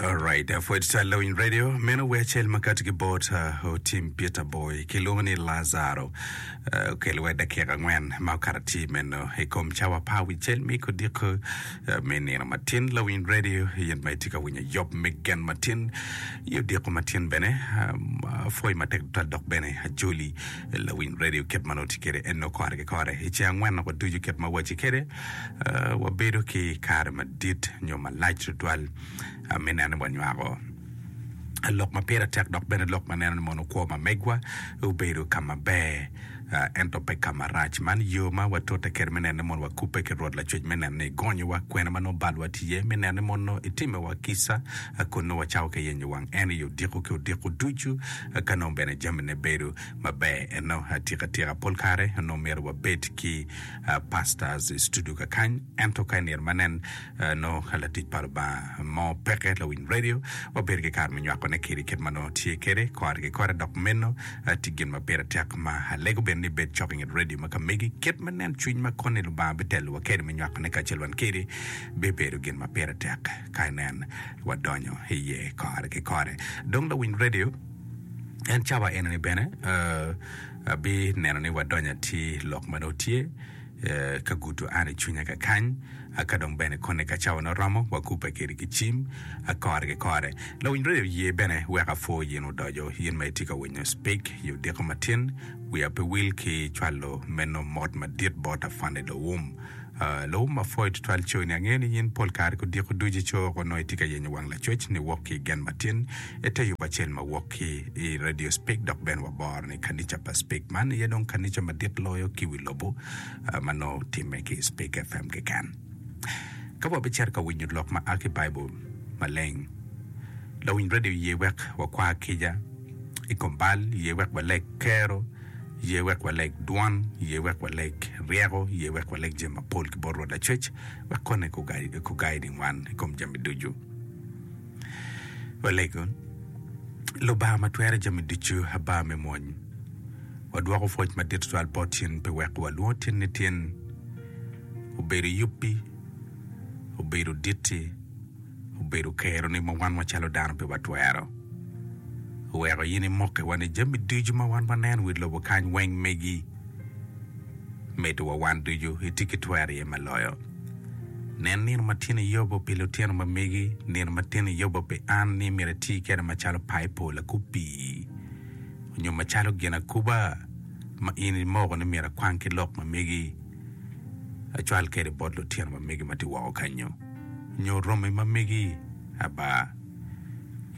Alright, pwod twal lawiny radio meno wer acel ma kati ki bot uh, Otim Peter Boy kilwongo ni Lazaro uh, okelo wa dakika angwen ma okato atir meno i kom cawa apar wi cel me kodiko uh, me nino matin lawiny radio in ma itye ka winyo yop me gen matin i odiko matin bene um, apwoyi matek tutwal dok bene ajoli lawiny radio kit ma nongo tye kwede en nongo kore ki kore i ceng angwen noko ducu kit ma waci kwede Wabedo ki kare madit nyo malac tutwal me neno ni wanywako lok ma pire tek dok bene lok ma neno ni mono kwo ma megwa obedo ka maber ento pe ka marac. Man yo ma watute kwede me neno ni mono wakubbe ki Rwot Lacwec me neno ni egonyowa kwene ma nongo balwa tye iye, me neno ni mono etimiwa kica kun nongo wacako ki yenyo wang en i odiko ki odiko ducu ka nongo bene jamine bedo maber. Eno atika tika pol kare onongo myero wabed ki pastors i studio kakany ento ka i nino ma nen nongo ka latic pa Lubanga mo peke lawiny radio wabedo ki kare me nywako ne kedi kit ma nongo tye kede kore ki kore dok meno tye gin ma pire tek ma alego bene ni ibed cok inget radio ma ka megi kit ma nen cwiny ma koni Lubanga bitelo wa kede me nywako ne kacel wan kedi bibedo gin ma pire tek ka inen wadonyo iye kore ki kore dong lawiny radio en cawa enoni bene Abineno ni wadonyo atir lok ma nongo tye ka gudo an i cwinya kakany, ka dong bene koni ka cawa nongo romo, wakubbe kedi ki cim kore ki kore. Lawiny radio ye bene wek apwo yin odoco, yin ma itye ka winyo Speak i odiko matin, wiya pe wil ki cwalo meno mot madit bot Afande Lowum. Lowum apwoyo tutwal coni, angeyo ni yin pol kare ki odiko ducu ico woko nongo itye ka yenyo wang lacwec ni wok ki i gen matin ite yub acel ma wok ki i Radio Speak dok bene waboro ni kanica pa Speak man aye dong kanica madit loyo ki wi lobo ma nongo timme ki i Speak FM keken. Ka wabicito ka winyo lok ma a ki Baibul maleng, lawiny radio ye wek wakwa kica i kom bal, ye wek waleg kero, ye wek waleg dwon, ye wek waleg ryeko, ye wek waleg jami mapol ki bot Rwot Lacwec wek kone gugaiding wan i kom jami ducu. Walego, Lubanga ma twero jami ducu, Aba me mwony, wadwoko pwoc madit twatwal bot in pi weko walwongo tin ni tin obedo yubbi, obedo ditti, obedo keroni ma wan macalo dano pe watwero. Oweko in imokewa ni jami ducu ma wan waneno i wi lobo kany weng megi. Medo wa wan ducu itye ki twero iye ma loyo. Nen nino ma tin iyobo pi lutino ma megi, nino ma tin iyobo pi an ni myero ati kwede macalo paipo lakub pii, onyo macalo ginakuba ma in imoko ni myero akwang ki lok ma megi acwal kwede bot lutino ma megi ma tye woko kanyo, nyo romi ma megi. Aba,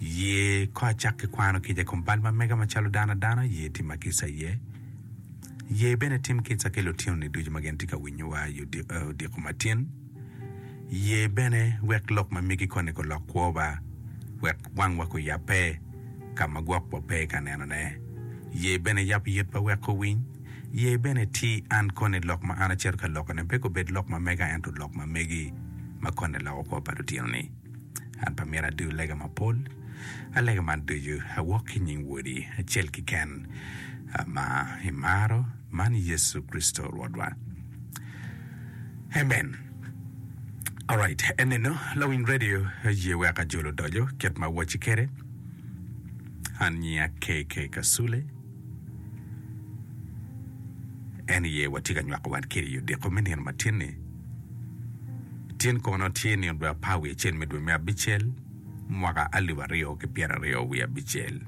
ye ko acak ki kwano kica i kom bal ma mega macalo dano adana, ye tima kica iye. Ye bene tim kica ki lutinoni ducu ma gin tye ka winyowa i odiko matin. Ye bene wek lok ma megi koni gulok kwowa, wek wangwa guyabbe ka ma gwokwa pe ka nenone. Ye bene yab yitwa wek owiny. Ye bene ti an koni lok ma an acito ka lokone pe gubed lok ma mega ento lok ma megi ma koni loko kwo pa lutinoni. An pe amito adur lega mapol. Alega man ducu awok ki i nying Wodi acel keken ma imaro, man Yecu Kricito Rwotwa. Amen. Alright, eneno lawiny radio ye wek ajol odoco kit ma awacci kwede. An nyinga KK Kasule. En iye watye ka nywako wan kede i odiko me nino matin-ni. Tin kono tye nino dwe apar wiye acel me dwe me abicel, mwaka alip aryo ki pyeraryo wiye abicel.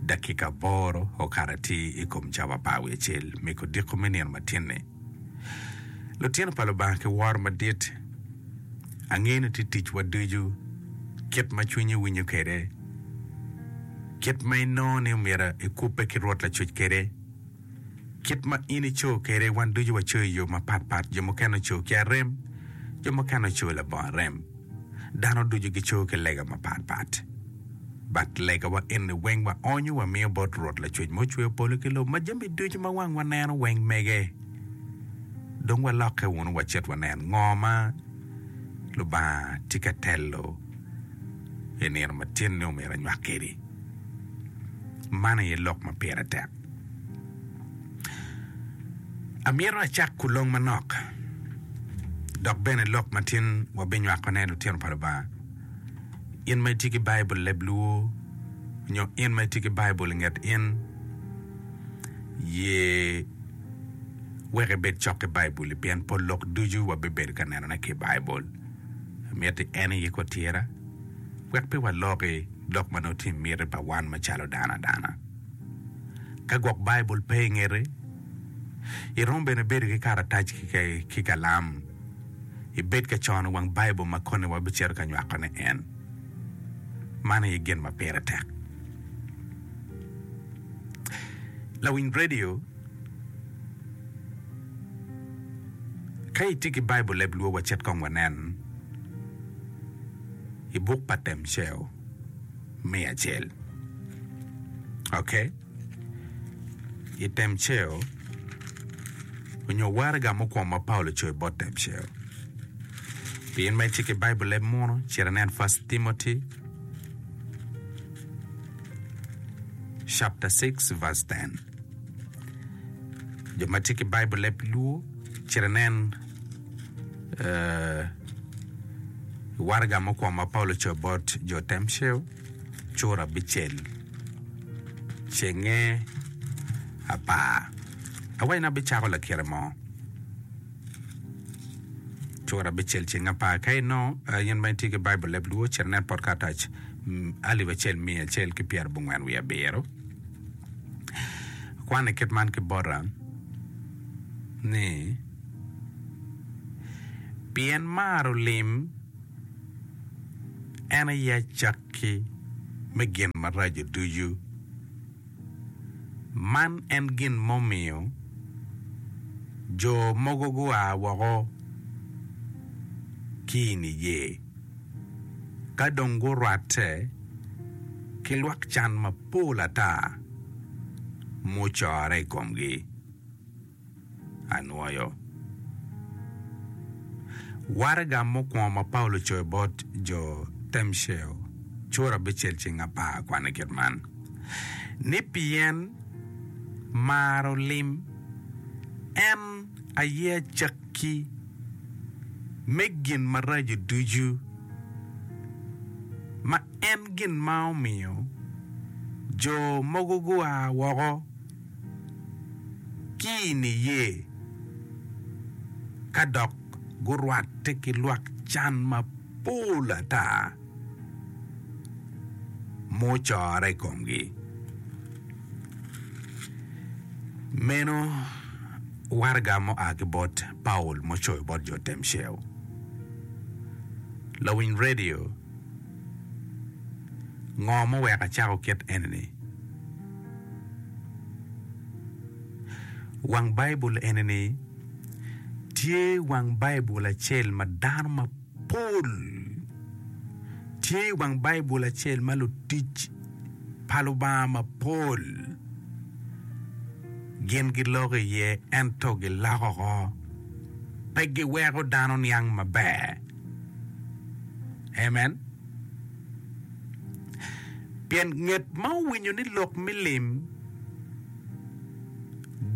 Dakika aboro okato atir i kom cawa apar wiye acel me kodiko me nino matin-ni. Lutino pa Lubanga ki woro madit, angeyo ni tye ticwa ducu kit ma cwinyi winyo kwede, kit ma inongo ni omyero ikubbe ki Rwot Lacwec kwede. Kit ma in ico kwede, wan ducu waco i yo mapatpat. Jo mukene oco ki arem, jo mukene oco labongo arem. Dano ducu gico ki lega mapatpat. But legawa eni weng waonyo wamiyo bot Rwot Lacwec ma ocweyo polo ki lobo ma jami ducu ma wang waneno weng mege. Dong walokke wunu wacit wanen ngo ma Lubanga tye ka telo i nino matin ni omyero anywak kedi. Man aye lok ma pire tek. Amito acak kulong manok, dok bene lok ma tin wabinywakone lutino pa Lubanga. In ma itye ki Baibul leb luo nyo in ma itye ki Baibul i nget in, ye wek ibed cok ki Baibul-li pien pol lok ducu wabibedo ka nenone ki i Baibul. Miti en aye kotira wek pe waloki lok ma nongo tye i miti pa wan macalo dano adana. Ka gwok Baibul pe i ngeti, iromo bene bedo ki karatac ki kalam. Ibed ka cono wang Baibul ma koni wabicito ka nywakone en. Man aye gin ma pire tek. Lawiny redio, ka itye ki Baibul leb luo wacit kong wanen i buk pa Temceo me acel. Ok. I Temceo, onyo waraga mukwongo ma Paulo ocoyo bot Temceo. Pien ma itye ki Baibul leb muno, cit inen First Timothy chapter 6 verse 10. Jo ma tye ki Baibul leb Luo, cit inen uh, waraga mukwongo ma Paulo ocoyo bot jo Temceo, cura abicel, cenge apar. Awaco ni abicako lakite mo. Cura abicel ceng apar. Ka inongo in ma itye ki Baibul leb Luo, cit inen pot karatac 1187. Kwan i kit man ki bota ni, Pien maro lim en aye acakki me gin maraco ducu. Man en gin mumiyo jo mogo gua woko ki i niye, ka dong gurwatte ki lwak can mapol ata mucorre i komgi. Anwoyo. Waraga mukwongo ma Paulo ocoyo bot jo Temceo, cura abicel ceng apar kwane kit man, ni pien maro lim en aye acakki me gin maraco ducu, ma en gin ma omiyo jo mogo gua woko ki i niye ka dok gurwatte ki lwak can mapol ata mucorre i komgi. Meno waraga mua ki bot Paulo mucoyo bot jo Temceo. Lawiny redio, Ngo muweko acako kit eni-ni? Wang Baibul eni-ni tye wang Baibul acel ma dano mapol tye wang Baibul acel ma lutic pa Lubanga mapol gin giloko iye ento giloko oko pe giweko dano niang maber. Amen. Pien nget ma owinyo ni lok me lim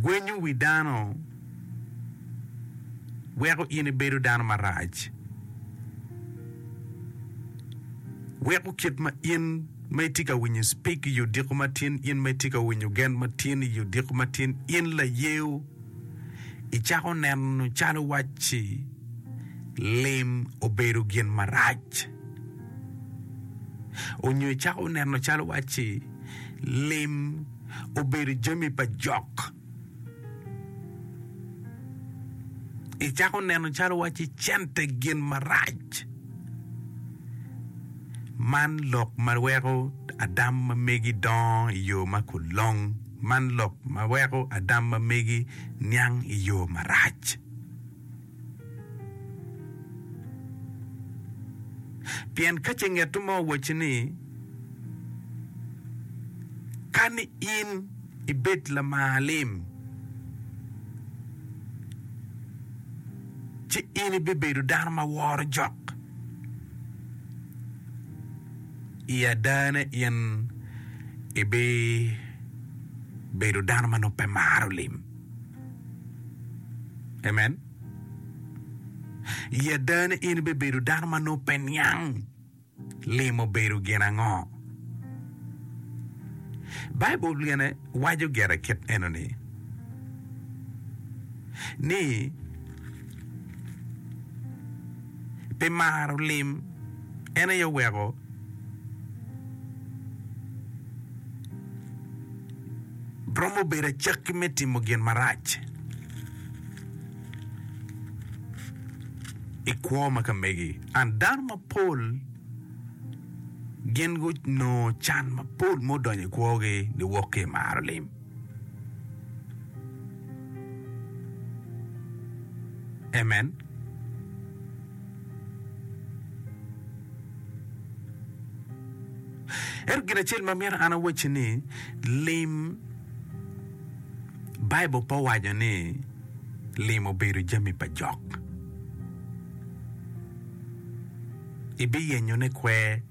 gwenyo wi dano weko in ibedo dano marac, weko kit ma in ma itye ka winyo speak i odiko matin, in ma itye ka winyo gen matin i odiko matin, in layeo, icako neno calo wacci lim obedo gin marac. Onyo icako neno calo wacci lim obedo jami pa jok. Icako neno calo wacci cente gin marac. Man lok ma weko adam ma megi dongo i yo ma kulong. Man lok ma weko adam ma megi niang i yo marac. Pien ka ce ngetto mo owacci ni, Ka ni in ibed lamar lim, ci in ibibedo dano ma woro jok. I adane in ibibedo dano ma nongo pe maro lim. Amen. I adane in ibibedo dano ma nongo pe niang. Lim obedo gin ango? Baibul bene waco gire kit eno-ni, ni pi maro lim en aye oweko romo bedo acakki me timo gin marac i kwo ma ka megi. And dano mapol gin gunongo can mapol ma odonyo i kwogi niwok ki i maro lim. Amen. Ento gin acel ma myero an awacci ni, lim, Baibul pe owaco ni lim obedo jami pa jok. Ibiyenyone kwer.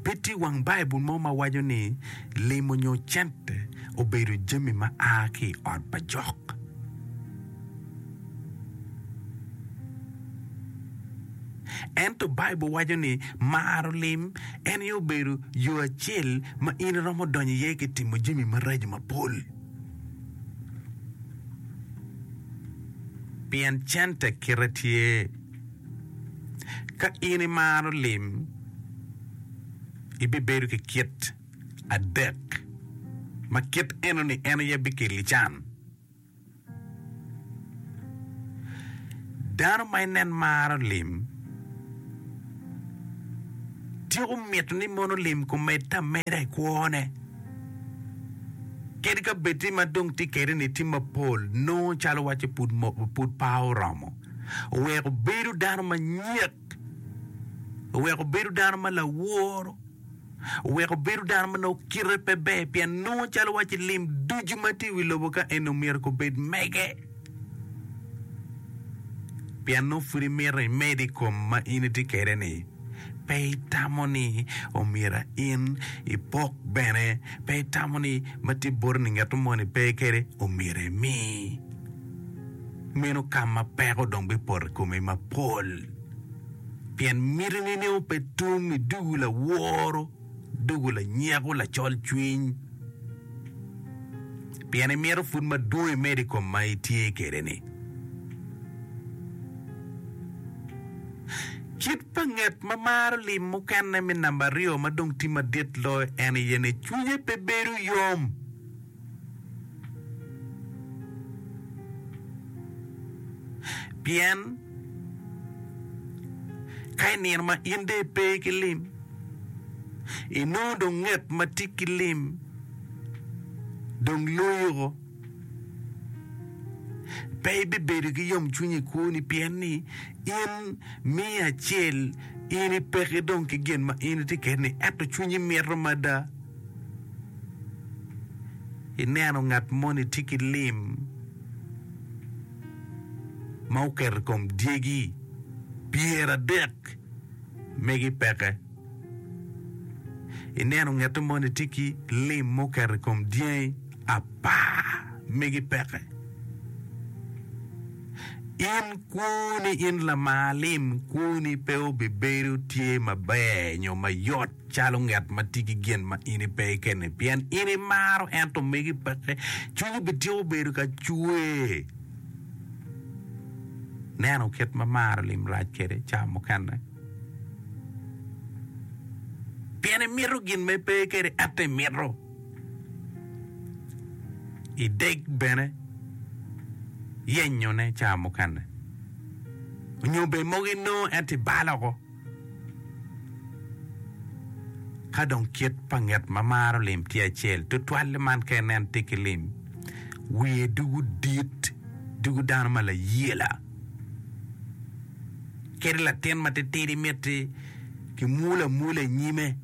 Pe tye wang Baibul mo ma waco ni limo nyo cente obedo jami ma a ki i ot pa jok. Ento Baibul waco ni maro lim en aye obedo yo acel ma in iromo donyo iye ki timo jami maraco mapol. Pien cente kite tye. Ka in imaro lim, ibibedo ki kit adek ma kit enoni en aye bikeli can. Dano ma inen maro lim tyeko mito ni mono lim kumedde ameda i kwone. Kadi ka bed ni ma dong tye kwede-ni tye mapol, nongo calo wacci pud pe oromo. Oweko bedo dano manyek, oweko bedo dano ma laworo. Oweko bedo dano ma nongo kite pe ber pien nongo calo wacci lim ducu ma tye i wi lobo ka eni omyero gubed mege. Pien nongo pud imito imed i kom ma in itye kwede-ni, pe itamo ni omyero in ipok bene, pe itamo ni ma tye boti-ni ngat moni pe kwede omyero imi. Meno ka ma peko dong bipoto i komi mapol. Pien mitini nongo pe tum i dugu laworo, dugu lanyeko lacol cwiny, pien imito pud madwong imedo i kom ma itye kwede-ni. Kit pa nget ma maro lim mukene me namba aryo ma dong tye madit loyo en aye ni cwinye pe bedo yom. Pien ka i nino ma in dong ipe ki lim, inongo dong nget ma tye ki lim dong loyi woko. Pe ibibedo ki yomcwiny i kwoni pien ni in miyo acel in ipeke dong ki gin ma in itye kwede-ni ento cwinyi mito mada. Ineno ngat moni tye ki lim ma oketo i kom dyegi pyeradek megi peke. Ineno ngat moni tye ki lim ma oketo i kom dyangi apar megi peke. In kwoni in lamar lim kwoni pe obibedo tye maber nyo mayot. Calo ngat ma tye ki gin ma in ipe kene, pien in imaro ento megi peke, cwinyi bityeko bedo ka cwer. Neno kit ma maro lim rac kwede ca mukene, pien imito gin ma ipe kwede ento imito ideg bene yenyone ca mukene, nyo bene mogo inongo ento ibalo oko. Ka dong kit pa nget ma maro lim tye acel, tutwalle man ka inen tye ki lim, wiye dugo dit, dugo dano ma layela. Kadi latin matitidi miti kimwolo amwola i nyime.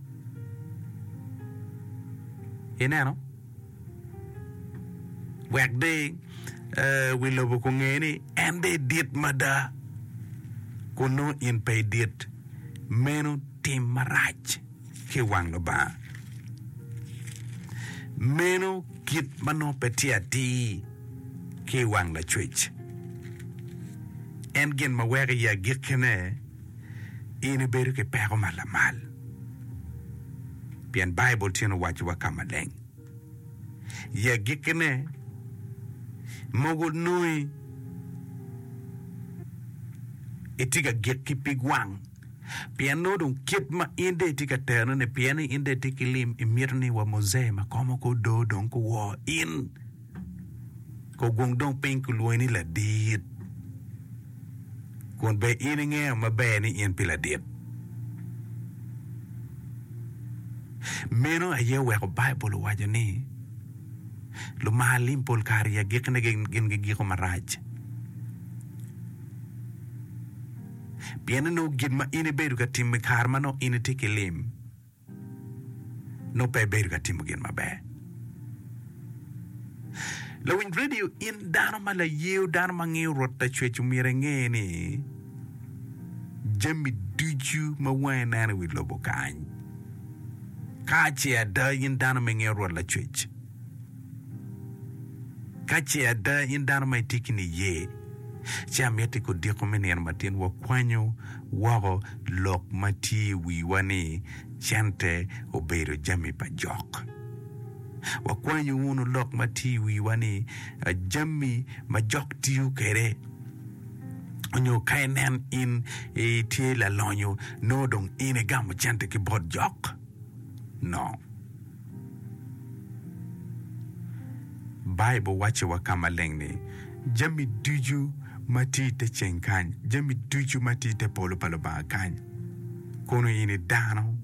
Ineno? Wek dong wi lobo kunge ni en dong edit mada, kun nongo in pe idit. Meno tim marac ki i wang Lubanga. Meno kit ma nongo pe tye atir ki i wang Lacwec. En gin ma weko i agikkine. In ibedo ki peko ma lamal. Pien Baibul tyen owacowa ka maleng. I agikkine, mogo nongi itye ka gik ki pig wang. Pien nongo dong kit ma in dong itye ka terone-ni, pien ni in dong itye ki lim, imito ni wa muzee ma komo ki odoo dong guwor in. Kogwong dong piny kilwongi ni ladit, kun bene in ingeyo maber ni in pe ladit. Meno aye oweko Baibul owaco ni lumar lim pol kare i agikkine gin gigiko marac. Pien ni nongo gin ma in ibedo ka timo i kare ma nongo in itye ki lim, nongo pe ibedo ka timo gin maber. Lawiny redio, in dano ma layeo, dano ma ngeyo Rwot Lacwec omyero inge ni jami ducu ma wangi neno i wi lobo kany, ka ce ada in dano ma ingeyo Rwot Lacwec, Ka ce ada in dano ma itye ki niye, ci amiti kodiko me nino matin wakwanyo woko lok ma tye i wiwa ni cente obedo jami pa jok. Wakwanyo wunu lok ma tye i wiwa ni jami ma jok tiyo kwede onyo ka inen in itye lalonyo nongo dong in igamo cente ki bot jok. No. Baibul wacciwa ka maleng ni, Jami ducu ma tye i te ceng kany, jami ducu ma tye i te polo pa Lubanga kany, kono in i dano,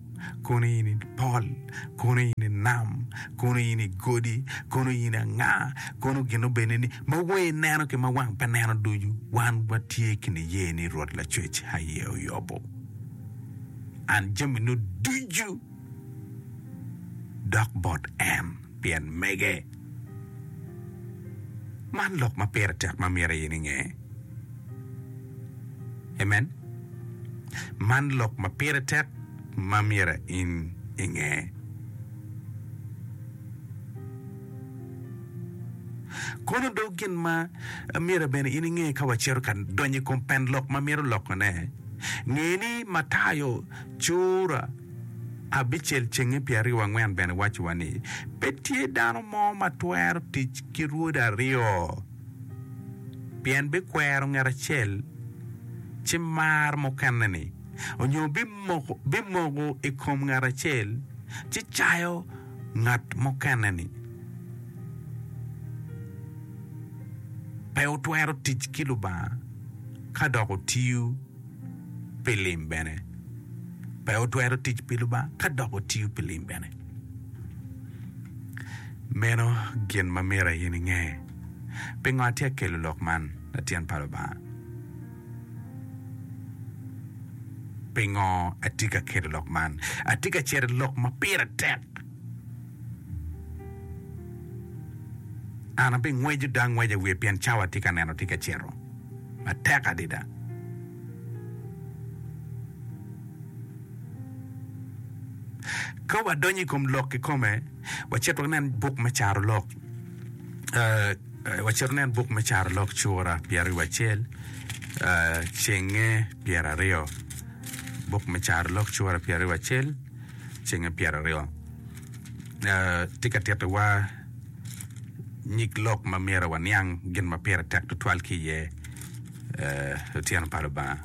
kono in i pol, kono in i nam, kono in i godi, kono in anga, kono gin obene ni, ma wang ineno ki ma wang pe neno ducu, wan watye ki niye ni Rwot Lacwec aye oyobo an jami-nu ducu. dok bot en pien mege. Man lok ma pire tek ma myero in inge. Amen. Man lok ma pire tek ma myero in inge. Kono do gin ma myero bene in inge ka wacito ka donyo i kom pen lok ma mito lokone, nge ni Matayo cura abicel cenge pyeraryo angwen bene wacowa ni, Pe tye dano mo ma twero tic ki rwode aryo, pien bikwero ngat acel ci mar mukene-ni, onyo bimoko i kom ngat acel ci cayo ngat mukene-ni. Pe wutwero tic ki Lubanga ka dok wutiyo pi lim bene. Pe wutwero tic pi Lubanga ka dok wutiyo pi lim bene. Meno gin ma myero in inge. Pingo atye ka kelo lok man, latin pa Lubanga? Pingo atye ka kelo lok man? Atye ka cito i lok ma pire tek. An abingweco dong angweca i wiye pien cawa atye ka neno tye ka cito matek adada. Ka wadonyo i kom lok kikome, wacit wanen buk me Carolok. Wacit wanen buk me Carolok cura pyeraryo acel, cenge pyeraryo. Buk me Carolok cura 21, cenge 20 tye ka tittiwa nyig lok ma myero waniang gin ma pire tek tutwal ki iye otyeno pa Lubanga.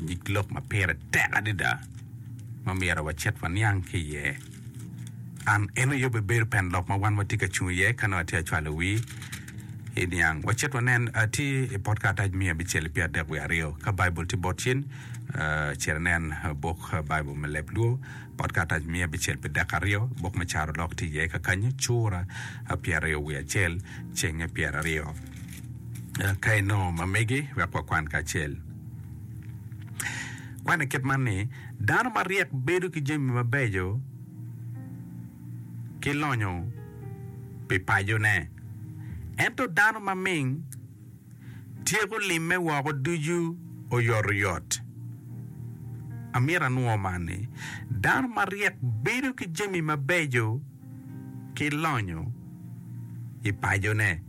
Nyig lok ma pire tek adada ma myero wacit waniang ki iye. An en aye obibedo pen lok ma wan watye ka cung iye ka nongo atye ka cwalo wii i niang. Wacit wanen tye i pot karatac miya abicel ki pyera 32 ka Baibul tye bot cin cit inen buk Baibul me leb Luo pot karatac miya abicel pi dek aryo buk me Carolok tye iye kakanyo cura 21 cenge 20. Ka inongo ma megi wek wakwan kacel. Kwan i kit man ni, Dano maryek bedo ki jami mabeco ki lonyo pi pacone, ento dano maming tyeko limme woko ducu oyotoyot. Amito anwo man ni, dano maryek bedo ki jami mabeco ki lonyo i pacone,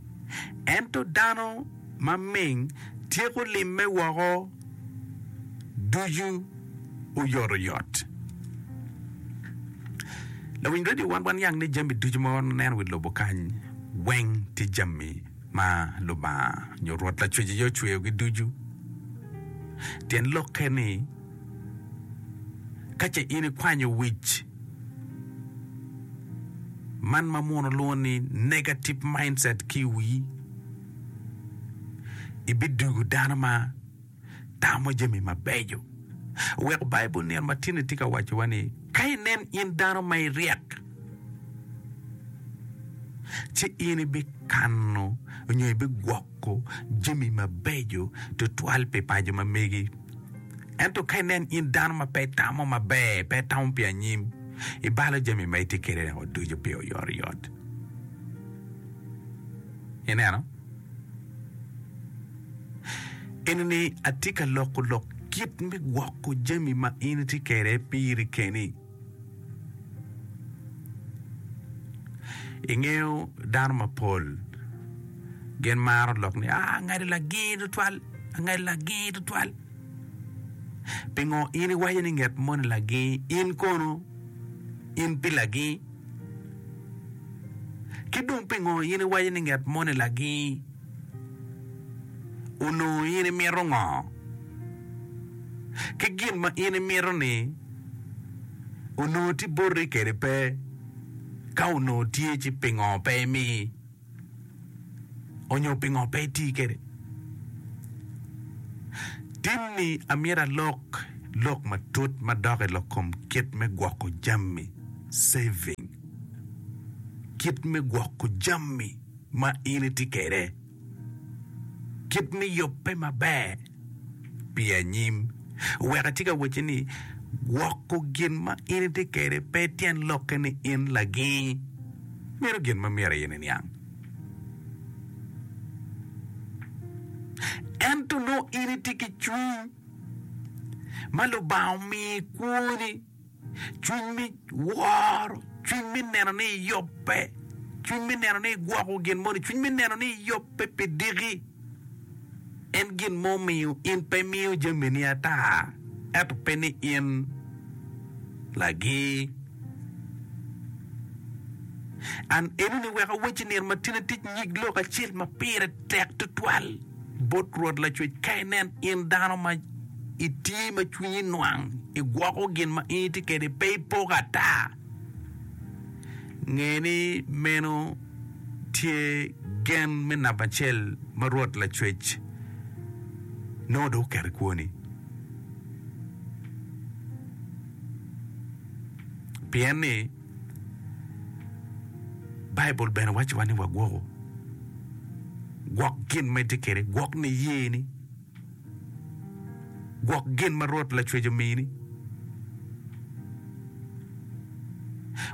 ento dano maming tyeko limme woko ducu. Oyotoyot. Lawiny redio wan waniang ni jami ducu ma waneno i lobo kany weng tye jami ma Lubanga nyo Rwot Lacwec aye ocweyogi ducu. Tyen lokke ni ka ce in ikwanyo wic man ma muno lwongo ni negative mindset ki i wii, ibidugo dano ma tamo jami mabeco. Wek Baibul nino ma tinni tye ka wacowa ni, Ka inen in dano ma iryek, ci in ibikano nyo ibigwoko jami mabeco tutwal pi paco ma megi. Ento ka inen in dano ma pe itamo maber, pe itamo pi anyim, ibalo jami ma itye kwede-ni ducu pi oyotoyot. Ineno? Eni-ni atye ka loko lok kit me gwoko jami ma in itye kwede piri keni. Ingeyo dano mapol gin maro lok ni aa ngati lagir tutwal, ngati lagir tutwal. Pingo in iwaco ni nget moni lagir in kono in pi lagir? Ki dong pingo in iwaco ni nget moni lagir? Onongo in imito ngo? Ki gin ma in imito-ni onongo tye boti kede pe? Ka onongo tye ci pingo pe imi? Onyo pingo pe iti kwede? Tin-ni amyero alok lok matut madok i lok kom kit me gwoko jami, saving, kit me gwoko jami ma in itye kwede, kit me yubbe maber pi anyim. Wek atye ka wacci ni gwoko gin ma in itye kwede pe tyen lokke ni in laging. Meno gin ma myero in iniang. Ento nongo in itye ki cwiny ma Lubanga omiyo i kwoni, cwiny me woro, cwiny me neno ni iyubbe, cwiny me neno ni igwoko gin moni, cwiny me neno ni iyubbe pi diki. En gin ma omiyo in pe imiyo jamini ata, ento pe ni in lagir. An enoni wek awacci nino ma tin atic nyig lok acel ma pire tek twatwal bot Rwot Lacwec ka inen in dano ma itye ma cwinyi nwang igwoko gin ma in itye kwede pe ipoko ata. Nge ni meno tye gen me namba acel ma Rwot Lacwec nongo dong oketo i kwoni. Pien ni Baibul bene wacciwa ni wagwoku. Gwok gin ma itye kwede, gwok niyeni, gwok gin ma Rwot Lacwec omini.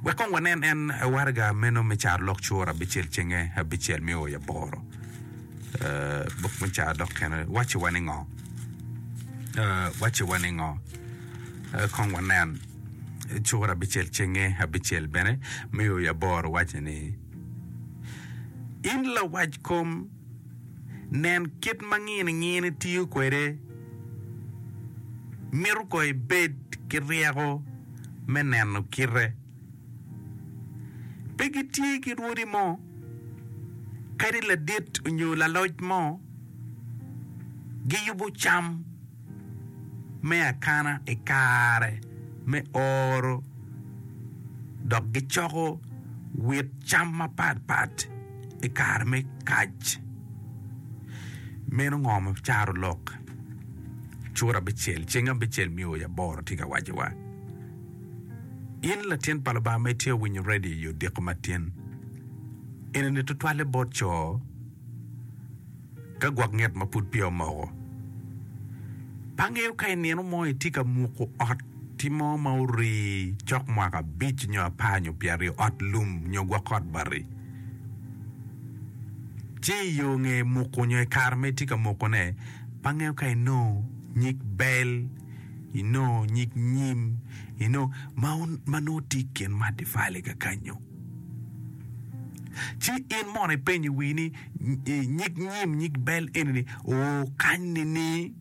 Wek kong wanen en waraga meno me Carolok cura abicel cenge abicel me o i aboro. Buk me Carolok kene wacciwa ni ngo? Wacciwa ni ngo? Kong wanen. Cura abicel cenge abicel bene me o i aboro waco ni, In lawackom, nen kit ma nginingini tiyo kwede, mito ko ibed ki ryeko me neno kite. Pe gitye ki rwodi mo, kadi ladit nyo laloc mo, giyubo cam. me akana i kare me oro dok gicoko wit cam mapatpat i kare me kac. Meno ngo ma carolok cura abicel ceng abicel me oyo aboro tye ka wacowa? In latin pa Lubanga ma itye ka winyo redio i odiko matin, enini tutwalle bot co. Ka gwok nget ma pud peya omoko. Pe angeyo ka i nino mo itye ka muko ot-ti mo ma orii cok mwaka abic nyo apar nyo pyeraryo, ot lum nyo gwok ot bati. Ci i yo nge muko nyo i kare ma itye ka mukone, pe angeyo ka inongo nyig bel, inongo nyig nyim, inongo ma nongo tye i kin matafali kakanyo. Ci in mono ipenyo i wii ni, Nyig nyim nyig bel eni-ni oo kany nining?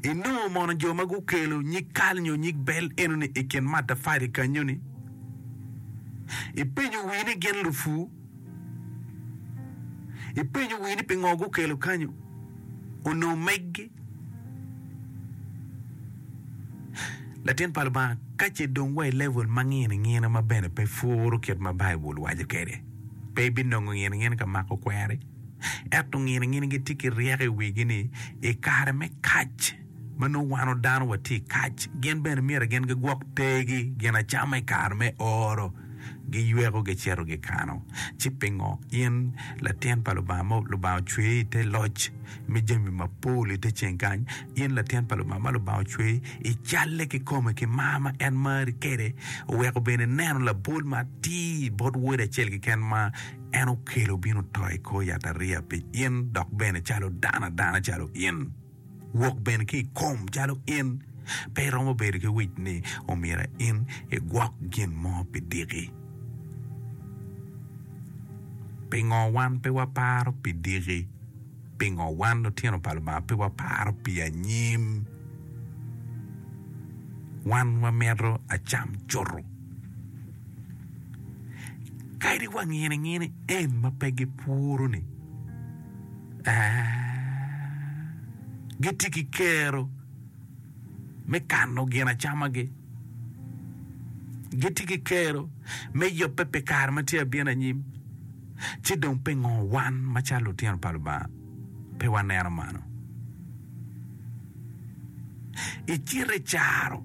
Inongo mono jo ma gukelo nyig kal nyo nyig bel enoni i kin matafali kanyo-ni? Ipenyo wii ni gin lupur? Ipenyo wii ni pingo gukelo kanyo? Onongo meggi? Latin pa Lubanga, ka ce dong wa i level ma ngine ngine ma bene pe puro kit ma Baibul waco kwede, pe ibinongo ngine ngine ka mako kweri. Ento ngine ngine gitye ki ryeko i wigi ni i kare me kac ma nongo wan dano watye i kac, gin bene myero gin gigwok tergi gin acama i kare me oro. Giyweko gicito gikano. Ci pingo in latin pa Lubanga ma Lubanga ocweyi i te loc me jami mapol i te ceng kany, in latin pa Lubanga ma Lubanga ocweyi i calle kikome ki mar ma en mari kwede, oweko bene ineno labol ma atir bot Wode acel keken ma En okelo obino oto i kor yatariya pi in, dok bene calo dano adana calo in, wok bene ki i kom calo in. Pe iromo bedo ki wic ni omyero in igwok gin mo pi diki. Pingo wan pe waparo pi diki? Pingo wan lutino pa Lubanga pe waparo pi anyim? Wan wamito acam cuto. Kadi wa ngini ngini en ma pe gipuro-ni, gitye ki kero me kano ginacamagi, gitye ki kero me yubbe pi kare ma tye abino anyim. Ci dong pingo wan macalo lutino pa Lubanga pe waneno mano? Icito i caro.